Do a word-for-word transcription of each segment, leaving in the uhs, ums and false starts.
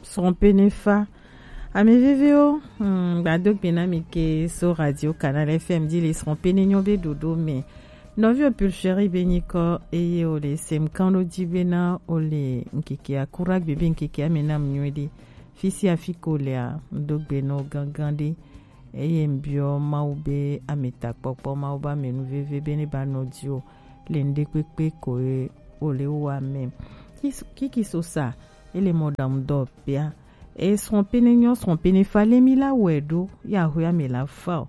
Srɔ̃ pene fa. Ame veviwo, hmm, gbado gbe na mi ke so Radio Canal F M dzi le srɔ̃ pene nyɔ be ɖoɖo me. Nɔviwo Pulchérie be nyikɔ eye wo le sem kan ɖo dzi be na wo le ŋkeke akura gbe be ŋkeke ame na mu nyuie ɖe. Fi sia fi ko lea, ŋdo gbe nɔ gangan ɖe. Eye ŋbiɔ Mawu be ame takpɔkpɔ, Mawu be ame nu veve be ne ba nɔ dzi o le ŋɖe kpekpe ko ye wo le wa me. Kis-, kiki so sa, ele mɔ ɖaŋu dɔ pia. E srɔ̃ pene nyɔ, srɔ̃ pene fa le mi la wɛ ɖo, ya hwe ame la fa o.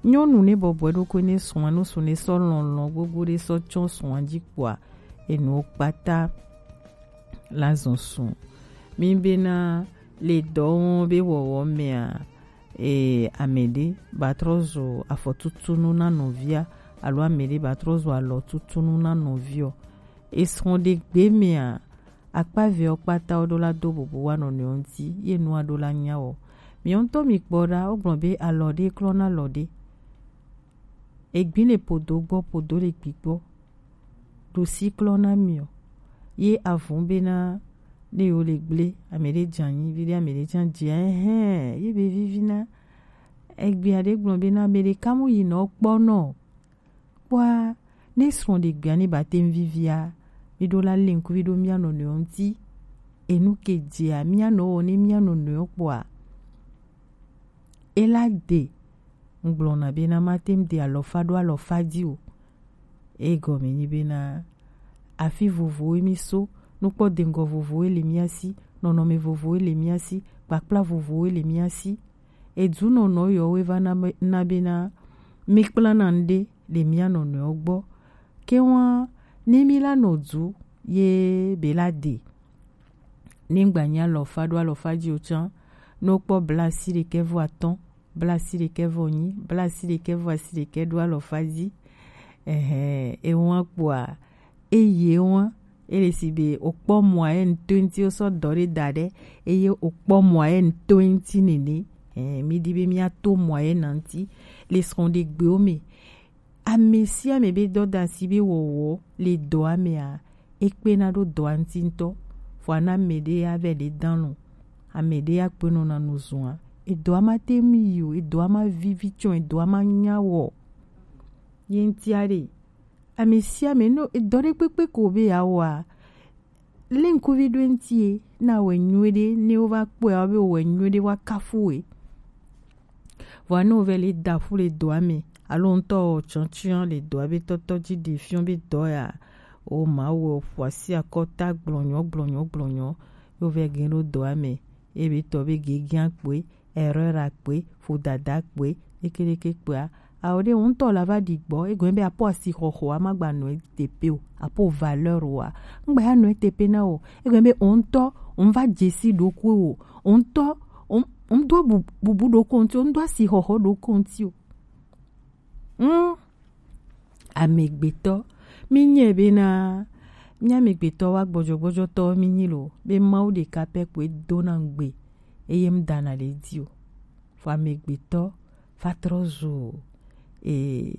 Nyɔnu ne bɔbɔe ɖokui ne srɔ̃a, no su ne sɔ lɔlɔ̃ gbogbo ɖe sɔ tsɔ srɔ̃a dzi kpoa, enuwo kpata la zɔn su. Mi bena le dɔ wɔm be wɔwɔ mea, e, ame ɖe ba trɔ zu afɔtutunu na nɔvia, alo ame ɖe ba trɔ zu alɔtutunu na nɔviɔ. Esrɔ̃ ɖe gbe mea, akpa veɔ kpata wo ɖo la do bubu wa nɔnɔewo ŋuti, ye nua ɖo la nya wɔ. Miɔ ŋutɔ mi kpɔ ɖa, wo gblɔ be alɔ ɖe klɔ na alɔ ɖe. Egbi le podo gbɔ, podo le gbi gbɔ. Ɖosi klɔ na miɔ. Ye avun bena ne yo le gble, ame ɖe dze anyi, vi ɖe ame ɖe dze anyi, ehɛn, ye be vivi na. Egbea ɖe gblɔ bena ame ɖeka mu yi nɔ kpɔ nɔ. Kpɔa, ne srɔ̃ ɖegbea ne ba te ŋu vivia, mi ɖo la le ŋkuvi ɖo mia nɔnɔewo ŋuti. Enu ke dzea mia nɔ wɔ ne mia nɔnɔewo kpɔa, ela de. Ŋgblɔna bena mate ŋu de alɔfa ɖo alɔfa dzi o. Egɔme nyi bena afi vovowoe mi so, nukpɔ dengɔ vovowoe le mia si, nɔnɔme vovowoe le mia si, kpakpla vovowoe le mia si. Edunɔnɔ yɔwoe va na be, na bena mi kplana ŋɖe le mia nɔnɔewo gbɔ. Ke wa ne mi la nɔ du ye be la de. Ne ŋgba nyi alɔfa ɖo alɔfa dzi o tsã, ne wokpɔ bla asi ɖekɛ vɔ atɔ̃, bla asi ɖekɛ vɔ nyi, bla asi ɖekɛ vɔ asi ɖekɛ ɖo alɔfa dzi. Ɛhɛn, ewa kpoa, eye wa, ele si be wokpɔ moyenne to eŋuti, wosɔ dɔ ɖe da ɖe, eye wokpɔ moyenne to eŋuti nene. Ɛhɛn, mi di be mia to moyenne ŋuti le srɔ̃ ɖe gbewo me. Ame sia ame be dɔdasi be wɔwɔ le dɔa mea, ekpena ɖo dɔa ŋuti ŋutɔ. Vɔa na ame ɖe ya vɛ ɖe dan lɔ, ame ɖe ya kpe nɔna nu zua. Edɔa ma te ŋu yi o, edɔa ma vivi tsɔ, edɔa ma nya wɔ. Ye ŋutia ɖe, ame sia ame nɔ edɔ ɖe kpekpe ko be ya wɔa, le ŋkuvi ɖo eŋuti ye, na wɔ nyuie ɖe, ne wova kpɔe, awo be wɔ nyuie ɖe, wa kafu we. Vɔa ne wovɛ le da ƒu le dɔa me, alo ŋutɔ wɔ tsɔtsiɔ le dɔa be tɔtɔ dzi ɖe fiɔ be dɔ ya, o ma wɔ ƒu asi akɔta gblɔnyɔ, gblɔnyɔ, gblɔnyɔ, yo vɛ gɛ ɖo dɔa me, ebe tɔ be gege akpoe, erreur akpoe, vodada kpoe, ɖeke ɖeke kpoa, awo ɖe wo ŋutɔ la va ɖi gbɔ, egɔme be apɔ asi xɔxɔ, ama gba nɔ ete pe o, apɔ valeur wa, ŋgba ya nɔ ete pe na o, egɔme be wo ŋutɔ, wo va dzesi ɖokui o, wo ŋutɔ, wo, wo do bu-, bubu ɖokui ŋuti, wo do asi xɔxɔ ɖokui ŋuti o. Hmm. Amegbetɔ, mi nyɛ bena, mi amegbetɔ wa gbɔdzɔgbɔdzɔtɔ mi nyi lo, be Mawu ɖeka pɛ kpoe dona ŋugbe, eye ŋdana le di o. Vɔ amegbetɔ va trɔ zu, e,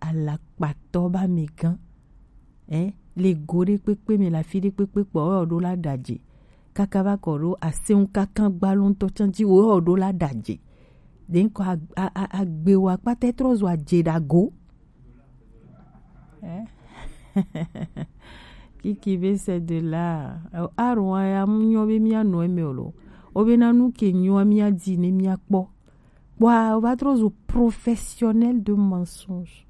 alakpatɔ ba amegã. Ɛ, le go ɖe kpekpe me, le afi ɖe kpekpe kpɔ, wɔ ɖo la ɖadze. Kaka va kɔ ɖo aseŋ kaka gbalo ŋutɔ tsã dzi, wɔ ɖo la ɖadze. Ɖe ŋkɔ a, a, a, agbe wa kpata trɔ zu adze ɖago. Ɛ? Kiki be c'est de là. Aro wa ya mu nyɔ be mia nɔ eme o lo. O be na nu ke nyɔ mia di ne mia kpɔ. Kpɔa, wova trɔ zu professionnel de mensonge.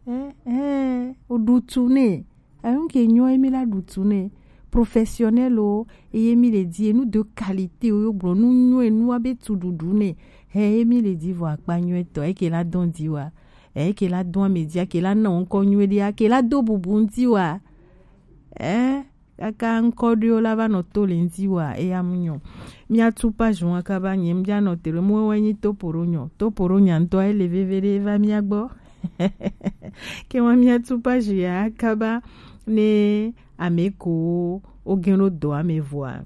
Ɛ, ɛ, o ɖu tu nɛ. Enu ke nyɔ emi la ɖu tu nɛ. Professionnel o, eye mi le di enu de qualité o, yo gblɔ nu nyɔ enu wa be tu ɖuɖu nɛ. Hɛ emi le di vɔ akpa nyɔ etɔ, eke la dɔn di wa. Eke la dɔn ame di, ake la na ŋkɔ nyɔ ɖe, ake la do bubu ŋuti wa. Ɛ? Kaka ŋkɔ ɖewo la va nɔ to le ŋuti wa, eya mu nyɔ. Mia tu page wa kaba nye, mia nɔ te ɖe mo wɛ nyi topo ɖo nyɔ. Topo ɖo nya ŋutɔ ele veve ɖe va mia gbɔ. Ke wa mia tu page ya kaba ne ame ko wo gɛn ɖo dɔ ame vɔa.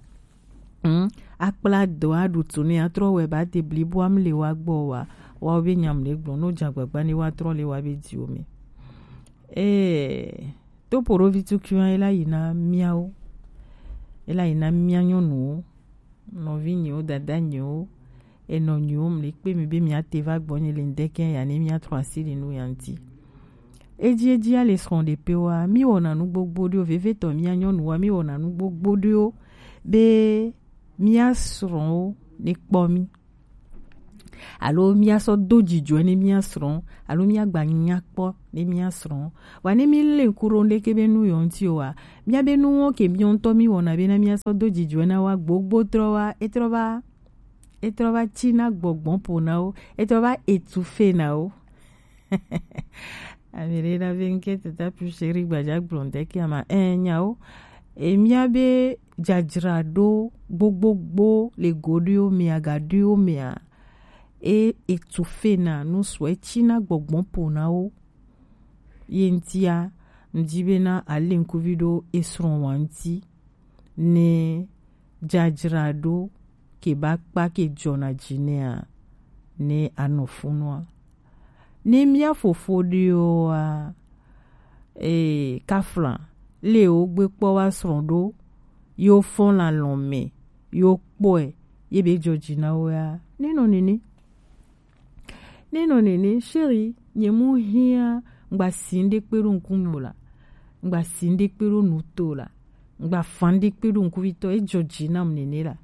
Hmm, akpla dɔ aɖu tu ne atrɔ wɛ ba te blibo am le wa gbɔ wa. Wa wo be nyam le gblɔ, no dza gbagba ne wa trɔ le wa be di wo me. Eh, Topoɖovi tukui ye la yi na miawo. Ela yi na mia nyɔnuwo, nɔvi nyiwo, dada nyiwo, enɔ nyiwo, mli kpe mi be mia te va gbɔ nyi le ŋdɛkɛ ya ne mia trɔ asi li nu ya ŋti. Eji eji ale srɔ̃ ɖe pe wa, mi wɔna nu gbogbo ɖewo, vevetɔ mia nyɔnuwa, mi wɔna nu gbogbo ɖewo be mia srɔ̃wo ne kpɔ mi. Alo mia sɔ do jijɔɛ ne mia srɔ̃, alo mia gba nya kpɔ ne mia srɔ̃. Wa ne mi le ŋku ɖo ŋɖeke be nu yɔ ŋti o wa, mia be nuwo ke mia ŋutɔ mi wɔna be na mia sɔ do jijɔɛ na wa gbogbo trɔ wa, etrɔ va, etrɔ va tsi na gbɔgbɔ po na wo, etrɔ va etu fe na wo. Ami ɖe na be ŋke teta pu seri gbaja gblɔ ŋdɛkɛ ama, eh, nyawo. E mia be jajraɖo gbogbogbo le go ɖewo mea, ga ɖewo mea, e etu fe na nu sɔ etsi na gbɔgbɔ po na wo. Ye ŋtia, ŋdi be na ale ŋkuvi ɖo esrɔ̃ wa ŋti ne jajraɖo ke ba kpa ke jɔna ji nɛa, ne anɔ funua. Ne mia fofo ɖewoa, e, kafla le wo gbe kpɔ wa srɔ̃ ɖo, yo fɔn la lɔn mɛ, yo kpɔɛ, ye be jɔ ji na wo ya. Ne nɔ nene. Ne nɔ nene, chéri, nye mu hia ŋgba si ŋɖe kpe ɖo ŋkume o la, ŋgba si ŋɖe kpe ɖo nu to la, ŋgba fa ŋɖe kpe ɖo ŋkuvitɔ, ejɔ ji nam nene la.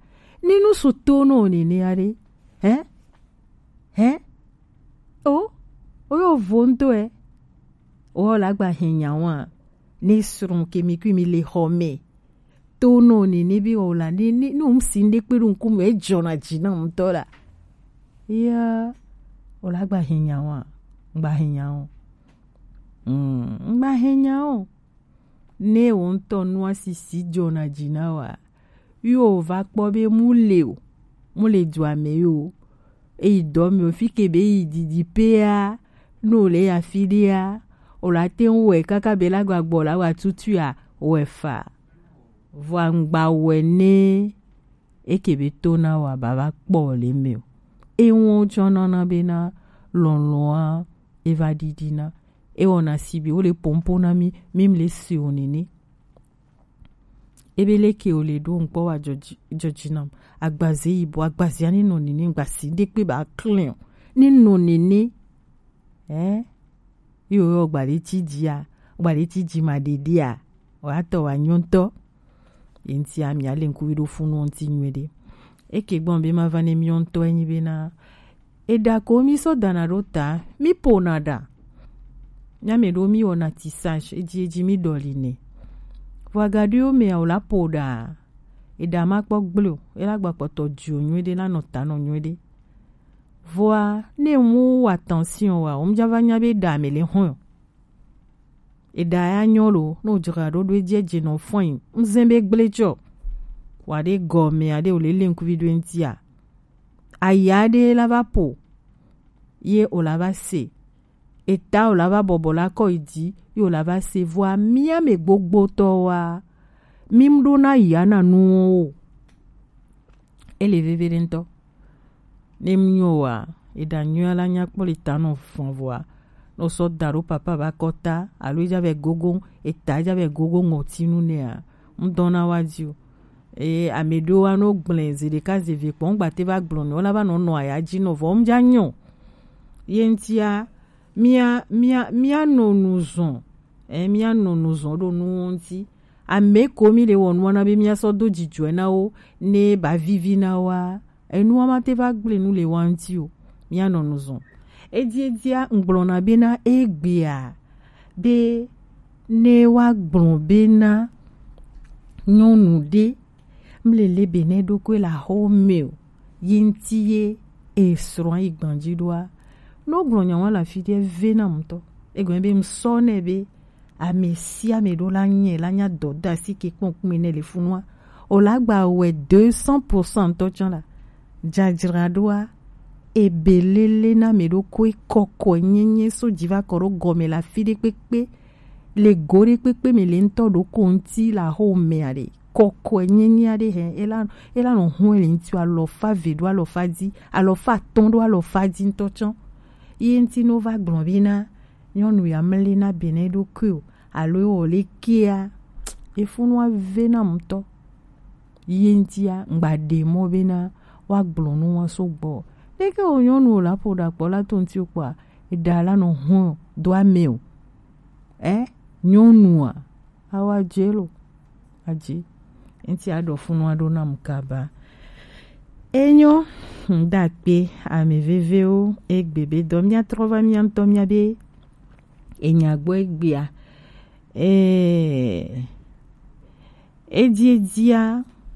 Ne nu su to nɔ nene aɖe, hɛ? Hɛ? O, o yo vo ŋdo ɛ. O la gba hɛn nya wa. Ne srɔ̃ ke mi kui mi le xɔ mɛ. To nɔ nene be o la, ne, ne, ne ŋsi ŋɖe kpe ɖo ŋkume, ejɔna ji na ŋutɔ la. Ya, o la gba hɛn nya wa, ŋgba hɛn nya o. Mm, ŋgba hɛn nya o. Ne wo ŋutɔ nua sisi jɔna ji na wa, yo va kpɔ be mu le o, mu le dua mɛ yo. Eyi dɔ mɛ o, fi ke be yi didi pea, no le ya fi ɖea, o la te ŋu wɛ kaka be la gba gbɔ la wa tutu ya wɛ fa. Vɔa ŋgba wɛ ne eke be to na wa ba va kpɔ le mɛ o. Ewɔn tsɔ nana be na lɔlɔa eva ɖiɖi na. Ewɔna si be wo le pompo na mi, mi le si o nene. Ebe leke o le ɖo ŋkpɔ wa jɔji, jɔji nam. Agbaze yibɔ, agbaze ani nɔ nene, ŋgba si ɖe kpe ba klɛn o. Ni nɔ nene, eh? Yo yo gbalẽ ti dzi a, gbalẽ ti dzi ma ɖeɖe a, wa tɔ wa nyɔ ŋutɔ. Ye ŋti a mia le ŋkuvi ɖo funu ŋti nyuie ɖe. Eke gbɔn be ma va ne miɔ ŋutɔ enyi be na eɖa ko mi sɔ dana ɖo ta, mi pona ɖa. Mia mɛ ɖo mi wɔna tissage, edzi edzi mi ɖɔli nɛ. Vɔ agaɖiwo mɛ o la po ɖa. Eɖa ma kpɔ gblẽ o, ela gba kpɔtɔ dzi o nyuie ɖe, la nɔ ta nɔ nyuie ɖe. Vɔa, ne mu wa attention wa, o mu ja va nya be ɖa mɛ le hɔn o. Eɖa ya nyɔ lo, no dzra ɖo ɖo edzi edzi nɔ fɔin. Ŋzɛn be gblẽ tsɔ. Wa ɖe gɔmɛ aɖe o le le ŋkuvi ɖo eŋti a. Aya ɖe la va po. Ye o la va se. Eta o la va bɔbɔ la kɔ yi dzi, ye o la va se vɔa mia mɛ gbogbotɔ wa. Mi mu ɖo na ya na nu o. Ele veve ɖe ŋutɔ. Ne mu nyɔ wa, eɖa nyɔ la nya kpɔ le ta nɔ fɔn vɔa. No sɔ da ɖo papa ba kɔta, alo eja vɛ gogo, eta eja vɛ gogo ŋɔtinu nɛa. Ŋdɔna wa dzi o. Eye ame ɖewo wa no gblẽ zi ɖeka zi eve kpɔ, ŋgba te va gblɔ nɛ, wo la va nɔ nɔ aya dzi nɔ vɔ, ŋdza nyɔ. Ye ŋtia, mia, mia, mia nɔ nu zɔn. Eh, mia nɔ nu zɔn ɖo nuwo ŋti. Ame ko mi le wɔ nua na be mia sɔ do dzidzɔe na wo, ne ba vivi na wa. Enua ma te va gblẽ nu le wa ŋti o. Mia nɔ nu zɔn. Edi, edia, ŋgblɔna be na egbea, be ne wa gblɔ be na nyɔnu ɖe, mle le be ne ɖokui le axɔ me o, yi ŋti ye esrɔ̃ yi gbanji ɖoa. No gblɔ nya wa le afi ɖe ve na ŋutɔ. Egɔme be ŋsɔ nɛ be ame sia ame ɖo la nye la nya dɔdasi ke kpɔn kpɔn ne le funua. O la gba wɛ deux cents pour cent ŋutɔ tsã la. Dzadzraɖoa, ebe lele na ame ɖokui kɔkɔe nyenye so dzi va kɔ ɖo gɔme le afi ɖe kpekpe. Le go ɖe kpekpe me le ŋutɔ ɖo ko ŋti le axɔ mea ɖe. Kɔkɔe nyenye aɖe hɛ, ela, ela nɔ hɔn le ŋti alɔfa ve ɖo alɔfa dzi, alɔfa atɔ̃ ɖo alɔfa dzi ŋutɔ tsã. Ye ŋti no va gblɔ be na nyɔnu ya mele na be ne ɖokui o, alo ewɔ le kea, efunua ve na ŋutɔ. ye ŋtia ŋgba ɖe mɔ bena woagblɔ nu wa so gbɔ. Leke wo nyɔnu wo la ƒo ɖa kpɔ la to ŋti kpɔa, eɖa la nɔ hɔn do ame o. Ɛ, nyɔnua, awa dze lo, adze. Ŋti aɖɔ funu aɖo nam kaba. Enyo, ŋda kpe, ame vevewo, egbe be dɔ mia trɔ va mia ŋutɔ mia be enya gbɔ egbea. Ee, edi edia,